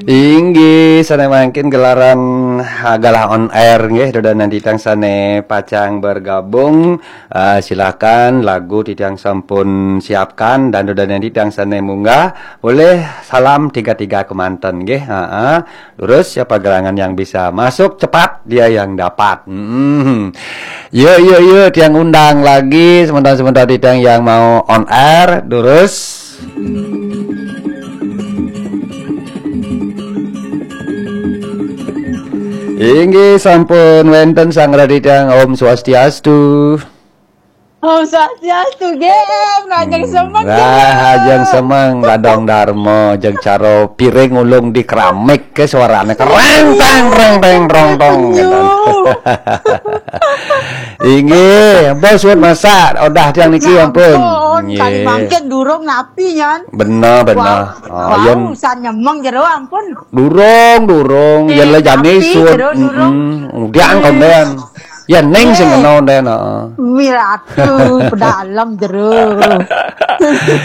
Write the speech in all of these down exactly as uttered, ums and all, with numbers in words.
Inggih, sané mangkin gelaran, ah, galah on air nggih, dudonan titiang sané pacang bergabung, ah, silakan lagu titiang sampun siapkan dan dudonan titiang sané munggah, boleh salam tiga-tiga kemanten nggih. Heeh. Terus siapa gerangan yang bisa masuk cepat dia yang dapat. Hmm. Yuk, yuk, yuk, tiang undang lagi sementara-sementara titiang yang mau on air, terus Inggih sampun wénten sang raditya. Om Swastiastu. Om Swastiastu, gem, rajang semeng. Lah, ajeng semeng, dadong darma, jeng cara piring ulung di keramik ke suarane kereng teng reng teng rong tong. Inggih, bos wut masak, udah tiang niki ampun. Kali mangkin durung napi nyan. Bener, bener. Oh, Wah, usan nyemeng jero ampun. Durung, durung. Ya le jani Napi, suwun. jero, durung. Mm-mm. Udiang kondén. Ya ning sing kena kondén, heeh. Miratu pedalem jero.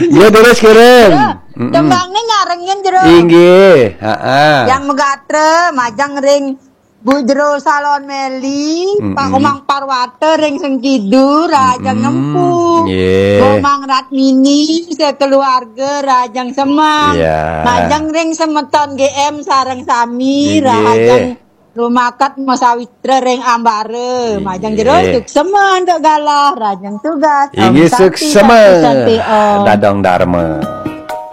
Ya terus kirim. Mm-mm. Tembangnya nyarengin jero. Inggih, heeh. Yang megatre majang ring Bu Jero Salon Meli, Mm-mm. Pak Komang Parwata ring Sengkidu, rajang Mm-mm. nempu. Nggih. Komang Ratmini sekeluarga rajang semang. Iya. Majang ring semeton G M sareng sami, Inggih. rajang rumaket masawitra ring ambara. Majang jero Inggih. suksema antuk galah, rajang tugas. Om Inggih Santi, suksema. Santi, Santi, Om. Dadong darma.